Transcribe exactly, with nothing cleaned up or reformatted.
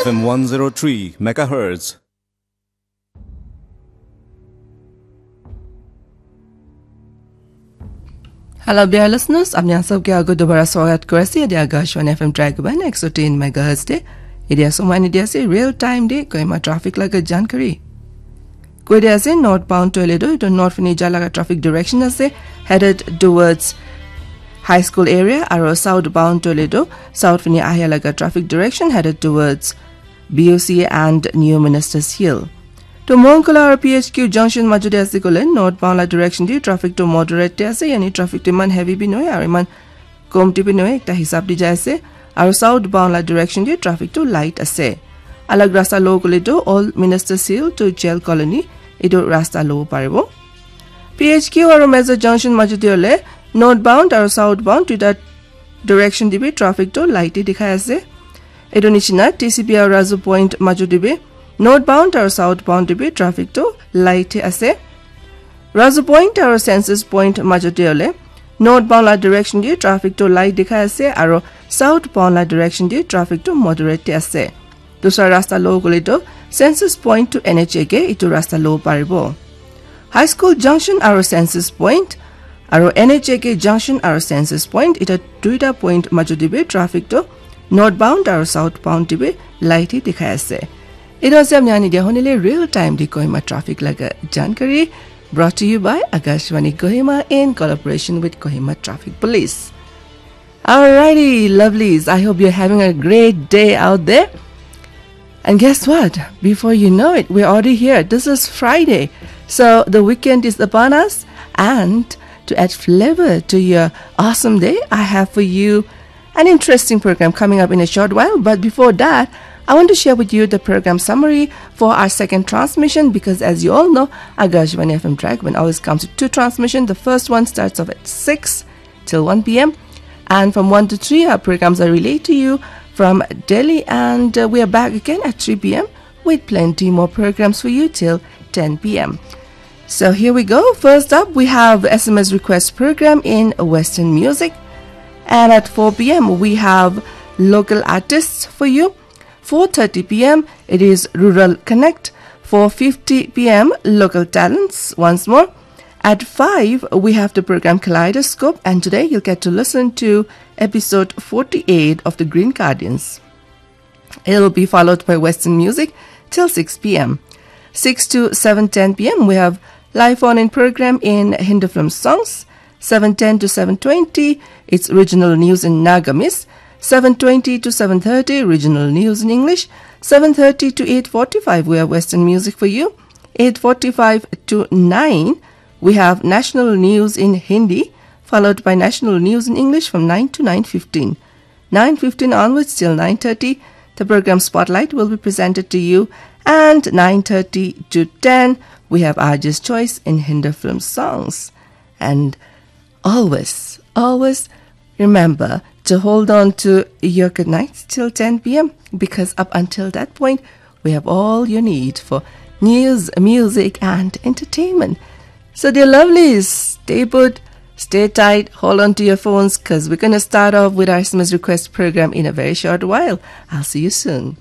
F M one zero three megahertz. Hello, dear listeners. Apni khan sabke ago dobara swagat kuri ase. Etia Akashvani F M Dragon one hundred ten megahertz te. Etia somoy etia ase real time te Kohima traffic laga jankari. Koi dia ase northbound toh hoile toh etu north fini ja laga traffic direction ase, headed towards High School area, aro southbound toh hoile toh south fini ahia laga traffic direction, headed towards B O C and New Ministers Hill. To Mongkola aro P H Q junction majo te ase koile northbound la direction te traffic to moderate te ase, yani traffic to iman heavy bi nohoi aro iman komti bi nohoi, ekta hisab te jai ase. Aro southbound la direction te traffic to light ase. Alag rasta lo koile to Old Ministers Hill to Jail Colony, etu rasta lo paribo. P H Q aro Meza junction majo te hoile northbound aro southbound duita direction te bi traffic to light te dikhai ase. Etu nishina T C B aro Razu Point majo te bi northbound aro southbound te bi traffic to light te ase. Razu Point aro Census Point majo te hoile northbound la direction te traffic to light dikhai ase aro southbound la direction te traffic to moderate te ase. Dusra rasta lo koile to Census Point to N H A K etu rasta lo paribo. High School junction aro Census Point aro N H A K junction aro Census Point, eta duita point majo te bi traffic to northbound aro southbound te bi light te dikhai ase. Etu ase apni khan etia hunile real time te Kohima traffic laga jankari, brought to you by Akashvani Kohima in collaboration with Kohima Traffic Police. Alrighty, lovelies. I hope you're having a great day out there. And guess what? Before you know it, we're already here. This is Friday. So the weekend is upon us. And to add flavor to your awesome day, I have for you an interesting program coming up in a short while. But before that, I want to share with you the program summary for our second transmission, because as you all know, Akashvani F M Dragon one always comes with two transmission. The first one starts off at six till one p m. And from one to three, our programs are relayed to you from Delhi. And uh, we are back again at three p m with plenty more programs for you till ten p m. So here we go. First up, we have S M S request program in Western music. And at four p m, we have local artists for you. Four thirty p m, it is Rural Connect. Four fifty p m, local talents once more. At five, we have the program Kaleidoscope, and today you'll get to listen to episode forty-eight of The Green Guardians. It'll be followed by Western music till six p m. Six to seven ten p m, we have live phone-in program in Hindi film songs. Seven ten to seven twenty, it's regional news in Nagamese. Seven twenty to seven thirty, regional news in English. Seven thirty to eight forty-five, we have Western music for you. Eight forty-five to nine, we have national news in Hindi, followed by national news in English from nine to nine fifteen. Nine fifteen onwards till nine thirty, the program Spotlight will be presented to you. And nine thirty to ten, we have R J's Choice in Hindi film songs. And always, always remember to hold on to your good nights till ten p m, because up until that point, we have all you need for news, music, and entertainment. So, dear lovelies, stay put, stay tight, hold on to your phones, 'cause we're gonna start off with our S M S request program in a very short while. I'll see you soon.